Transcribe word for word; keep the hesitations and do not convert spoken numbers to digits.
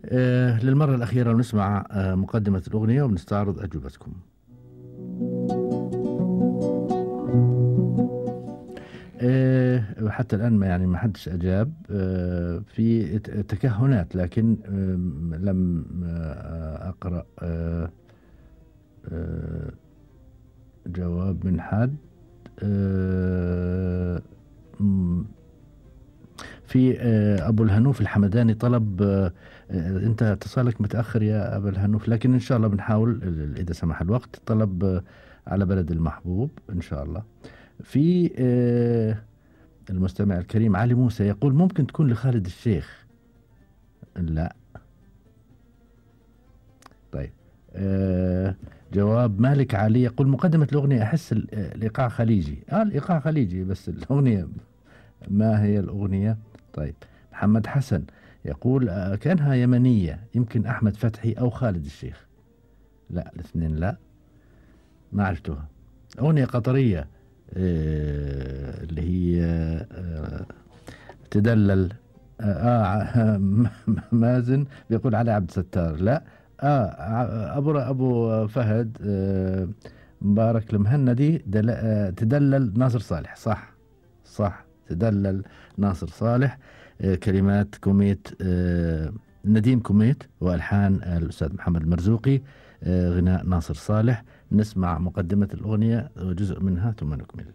آه للمرة الأخيرة نسمع آه مقدمة الأغنية وبنستعرض أجوبتكم. آه حتى الآن ما يعني ما حدش أجاب. آه في تكهنات، لكن آه لم آه أقرأ آه آه جواب من حد. آه في آه أبو الهنوف الحمداني طلب. آه أنت اتصالك متأخر يا أبو الهنوف، لكن إن شاء الله بنحاول إذا سمح الوقت. طلب آه على بلد المحبوب إن شاء الله. في آه المستمع الكريم علي موسى يقول ممكن تكون لخالد الشيخ. لا. طيب. آه جواب مالك علي يقول مقدمة الأغنية أحس الإيقاع خليجي. آه الإيقاع خليجي بس الأغنية ما هي الأغنية؟ طيب. محمد حسن يقول آه كأنها يمنية، يمكن أحمد فتحي أو خالد الشيخ. لا الاثنين لا، ما عرفتوها. أغنية قطرية آه اللي هي آه تدلل. آه, آه مازن بيقول علي عبد الستار. لا. آه أبو أبو فهد آه مبارك المهندي دل آه تدلل ناصر صالح. صح صح تدلل ناصر صالح. آه كلمات كوميت آه نديم كوميت والحان الأستاذ محمد المرزوقي. آه غناء ناصر صالح. نسمع مقدمة الأغنية وجزء منها ثم نكمل.